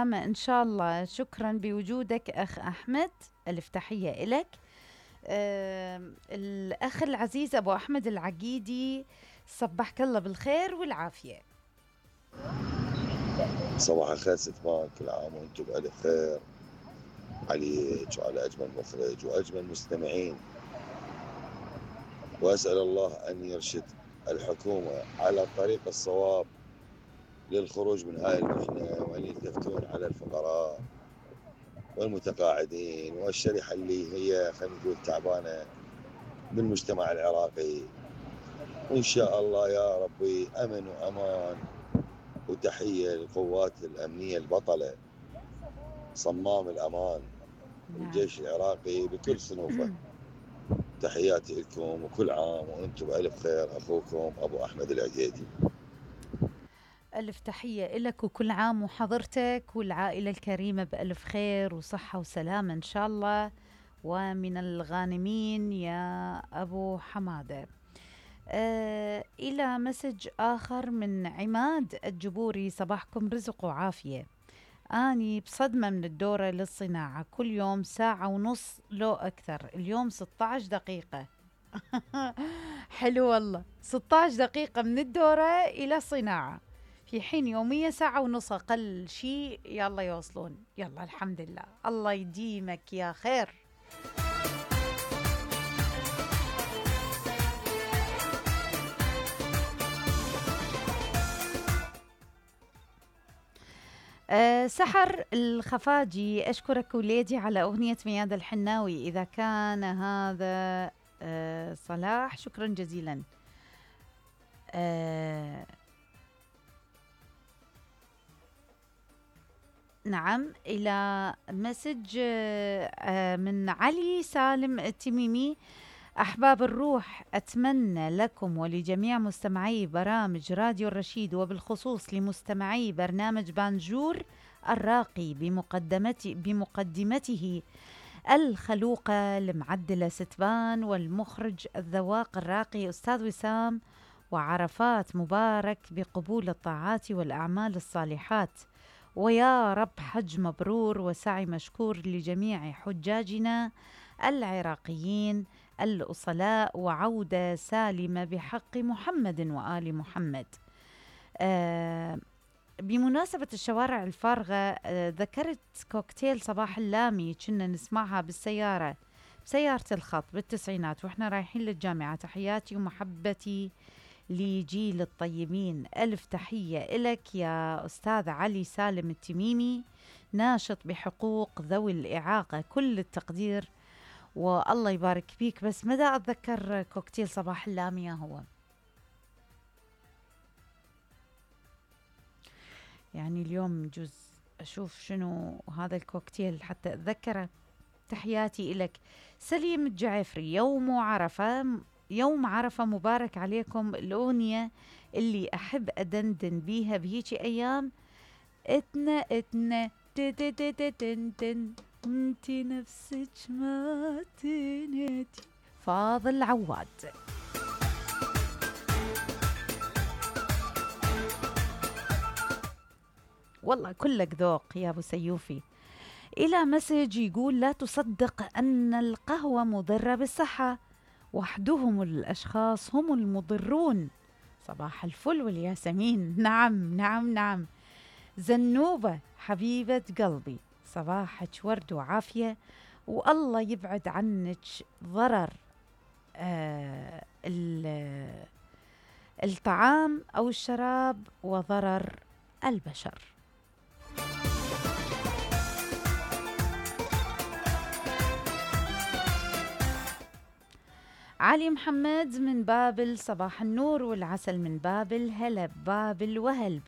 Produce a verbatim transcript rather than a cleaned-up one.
وسلامة إن شاء الله. شكرا بوجودك أخ أحمد، ألف تحية إلك. آه الأخ العزيز أبو أحمد العقيدي، صبحك الله بالخير والعافية. صباح الخير ستمان، كل عام وانتم بألف خير عليك وعلى أجمل مخرج وأجمل مستمعين، وأسأل الله أن يرشد الحكومة على الطريق الصواب للخروج من هاي المحنة، وأن يلتفتون على الفقراء والمتقاعدين والشريحة اللي هي خلينا نقول تعبانة بالمجتمع العراقي. وإن شاء الله يا ربي أمن وأمان. وتحية للقوات الأمنية البطلة صمام الأمان والجيش العراقي بكل صنوفه. تحياتي لكم وكل عام وأنتم بألف خير. أخوكم أبو أحمد العقيدي. ألف تحية إلك وكل عام وحضرتك والعائلة الكريمة بألف خير وصحة وسلامة إن شاء الله، ومن الغانمين يا أبو حمادة. آه إلى مسج آخر من عماد الجبوري، صباحكم رزق وعافية. أني بصدمة من الدورة للصناعة، كل يوم ساعة ونص لو أكثر، اليوم ستة عشر دقيقة. حلو والله، ستة عشر دقيقة من الدورة إلى الصناعة، في حين يوميا ساعة ونص أقل شيء. يلا يوصلون، يلا الحمد لله، الله يديمك يا خير. أه سحر الخفاجي، أشكرك وليدي على أغنية مياد الحناوي. إذا كان هذا أه صلاح، شكرا جزيلا. أه نعم، إلى مسج أه من علي سالم التميمي، أحباب الروح، أتمنى لكم ولجميع مستمعي برامج راديو الرشيد، وبالخصوص لمستمعي برنامج بانجور الراقي بمقدمته, بمقدمته الخلوقة المعدلة ستبان، والمخرج الذواق الراقي أستاذ وسام، وعرفات مبارك بقبول الطاعات والأعمال الصالحات. ويا رب حج مبرور وسعي مشكور لجميع حجاجنا العراقيين الأصلاء، وعودة سالمة بحق محمد وآل محمد. آه بمناسبة الشوارع الفارغة، آه ذكرت كوكتيل صباح اللامي كنا نسمعها بالسيارة، بسيارة الخط بالتسعينات وإحنا رايحين للجامعة. تحياتي ومحبتي لجيل الطيبين. ألف تحية إلك يا أستاذ علي سالم التميمي، ناشط بحقوق ذوي الإعاقة، كل التقدير والله يبارك فيك. بس مدى أتذكر كوكتيل صباح اللامية هو، يعني اليوم جزء أشوف شنو هذا الكوكتيل حتى أتذكره. تحياتي إلك. سليم الجعفري، يوم عرفة، يوم عرفة مبارك عليكم. الأغنية اللي أحب أدندن بيها بهيجي أيام، اتنا اتنا تن انتي نفسك ما تنتي، فاضل عواد. والله كلك ذوق يا أبو سيوفي. إلى مسج يقول، لا تصدق أن القهوة مضرة بالصحة، وحدهم الأشخاص هم المضرون. صباح الفل والياسمين. نعم نعم نعم. زنوبة حبيبة قلبي، صباحك ورد وعافية، والله يبعد عنك ضرر آه الطعام أو الشراب وضرر البشر. علي محمد من بابل، صباح النور والعسل من بابل، هلا بابل وهل